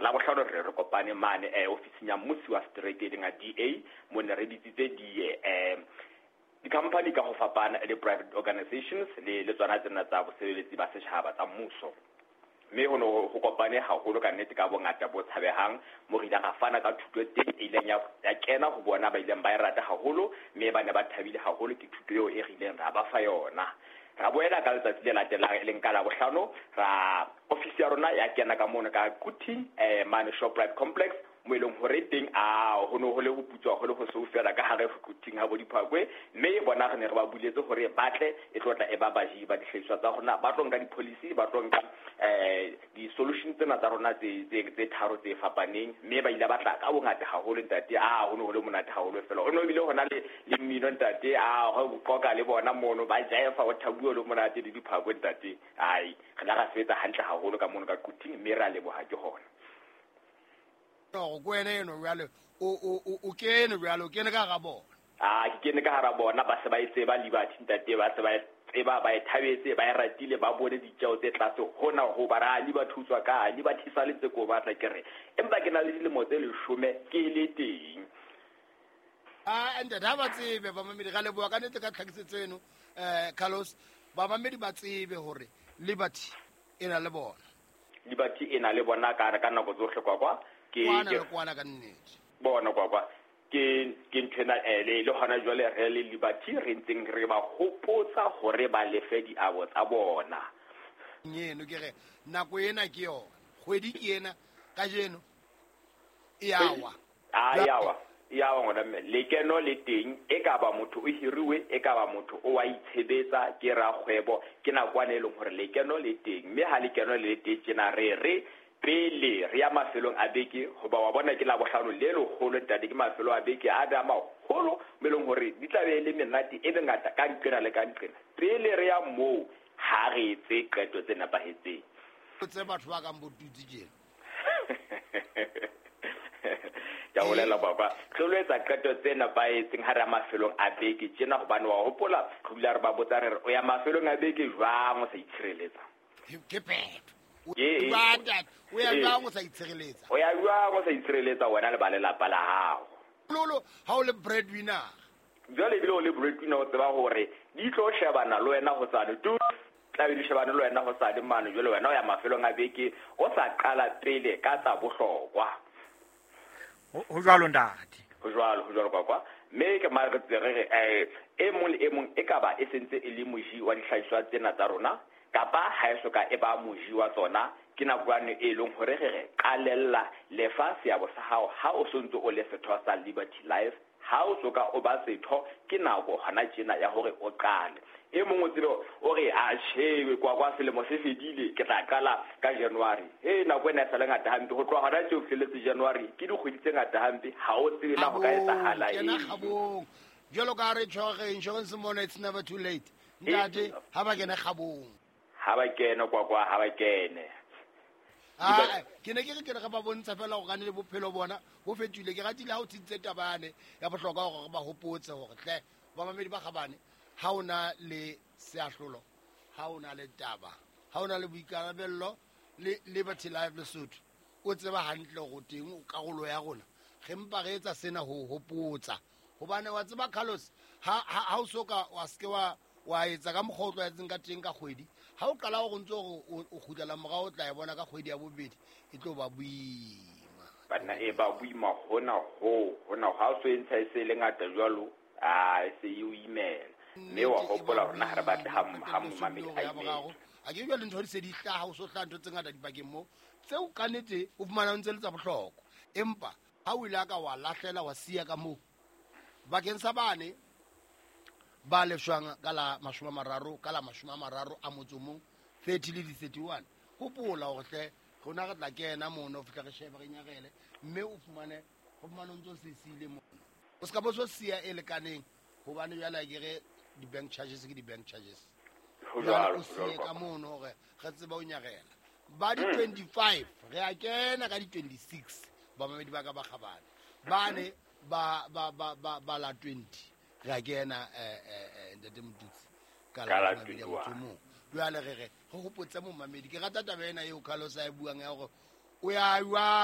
Labohlano re kopane mane ofising ya mmusi wa setereke e leng ya DA, mo ne re bitsitse di-company ka ho fapana le private organizations le tsona tsena tsa bosebeletsi ba setjhaba tsa mmuso. Mme ho ne ho kopane haholo ka nnete ka bongata bo tshabehang, mo re ileng ra fana ka thuto teng e ileng ya kena ho bona, ba ileng ba e rata haholo, mme ba ne ba thabile haholo ke thuto eo e re ileng ra ba fa yona. Ra boela ka letsatsi le latelang e leng ka Labohlano, ra ofisi ya rona ya kena ka mono ka Quthing, mane Shoprite Complex, mo e leng hore teng a ho ne ho le ho putswa ho le ho sou fela ka hare ho Quthing ha bo Diphakwe, mme bona re ne re ba buletse hore ba tle e tlo tla e ba baji ba dihlahiswa tsa rona, ba tlo nka di-policy, ba tlo nka di-solution tsena tsa rona tse tharo tse fapaneng, mme ba ile ba tla ka bongata haholo ntate. A ho ne ho le monate haholo fela, o ne o bile hona le mmino ntate, a ho qoka le bona mono ba jaefa, ho thabuwe le monate le Diphakwe ntate. Ai re la ra sebetsa hantle haholo ka mono ka Quthing, mme ra leboha ke hona. Go wena eno jwale o kene jwale, o kene ka hara bona. A ke kene ka hara bona, ba se ba e tseba Liberty ntate, ba se ba e tseba, ba e thabetse, ba e ratile, ba bone ditjeo tse tlase hona ho ba ra Liberty ho tswa ka Liberty sa le tse ko batla ke re, empa ke na le dilemo tse 10 ke le teng. A ntate ha ba tsebe bamamedi, ra leboha ka nnete ka tlhakisetso eno, Carlos. Bamamedi ba tsebe hore Liberty e na le bona. Liberty e na le bona ka nako tsohle kwa. Ke kwana ka nnete. Bona kwa. Ke nthwena le hona jwale re le Liberty re ntseng re ba hopotsa hore ba lefe diabo tsa bona. Eno ke re nako ena ke yona, kgwedi ke ena kajeno e awa. A e awa. E awa ngwana mme. Lekeno le teng, e ka ba motho o hiriwe, e ka ba motho o wa itshebetsa, ke rakgwebo, ke nakwana e leng hore lekeno le teng. Mme ha lekeno le teng tjena re re pele re ya mafelong a beke, hoba wa bona ke Labohlano le leholo ntate, ke mafelo a beke a da maholo mo e leng hore di tla be le menate e mengata ka nqena le ka nqena. Pele re ya moo ha re etse qeto tse nepahetseng. Tse batho ba kang bo tutsi tjena. Ke a bolela papa, re lo etsa qeto tse nepahetseng ha re ya mafelong a beke tjena, hobane wa hopola re dula re ba botsa re re o ya mafelong a beke jwang o sa itshireletsa? Ke phetho. O ya jwang o sa itshireletsa? O ya jwang o sa itshireletsa wena le ba lelapa la hao? Lolo, ha o le breadwinner. Jwale ebile o le breadwinner, o tseba hore di tlo shebana le wena hosane. Tu tla be di shebane le wena hosane mane, jwale wena o ya mafelong a beke o sa qala pele ka tsa bohlokwa. Ho jwalo ntate. Ho jwalo kwa. Mme ke mare re re e mong le e mong e ka ba e sentse e le moji wa dihlahiswa tsena tsa rona, kapa ha e soka e ba moji wa tsona, ke nakwane e leng hore re re qalella lefa seabo sa hao ha o sontso o le setho sa Liberty Life. Ha o soka o ba setho, ke nako hona tjena ya hore o qale. E mong o tsebe o re a tjhe kwa selemo se fedile, ke tla qala ka January. Nako ena e sa le ngata hampe, ho tloha hona tje ho fihlelletse January ke dikgwedi tse ngata hampe, ha o tsebe na ho ka etsahala eng. Jwalo ka re tjho insurance mona, it's never too late. Ntate ha ba kene kgabong. Ha ba kene kwa ha ba kene. Ke ne ke re ke re ba bontsha fela hore le bophelo bona bo fetohile. Ke ratile ha o tsitse taba yane ya bohlokwa hore ba hopotse hore hle ba mamedi ba kgabane, ha o na le seahlolo, ha o na le taba, ha o na le boikarabello le Liberty Life Lesotho, o tseba hantle hore teng o karolo ya rona. Re mpa re etsa sena ho hopotsa, hobane wa tseba Carlos, ha o soka wa ske wa etsa ka mokgwa o tlwaetseng ka teng ka kgwedi, ha o qala hore ntse hore o kgutlela morao, o tla e bona ka kgwedi ya bobedi e tlo ba boima. Banna e ba boima hona ho, hona ha o so e ntsha e se le ngata jwalo, a e se e o imela. Mme wa hopola hore na ha re batle ha momamedi a imela. A ke jwale ntho di se di hlaha, o so hlaha ntho tse ngata dipakeng moo tseo ka nnete o fumana o ntse le tsa bohlokwa, empa ha o ile ka wa lahlela wa siya ka moo bakeng sa bane ba lefshwang ka la 30 ka la 31 30 le 31. Hopola hore hle rona re tla kena mono, fihla re shebe re nyarele, mme o fumane ho fumane o ntso se siile mono, o ska bo so siya e lekaneng, hobane jwale ke re di-bank charges ke di-bank charges. Jwale o siye ka mono hore re tsebe ho nyarela. Ba di-25 re a kena ka di-26, bamamedi ba ka ba kgabane bane ba la 20 re a kena ntate Motutsi ka la 21. Jwale re re hopotse momamedi, ke rata taba ena eo Carlos a e buang ya hore o ya jwang.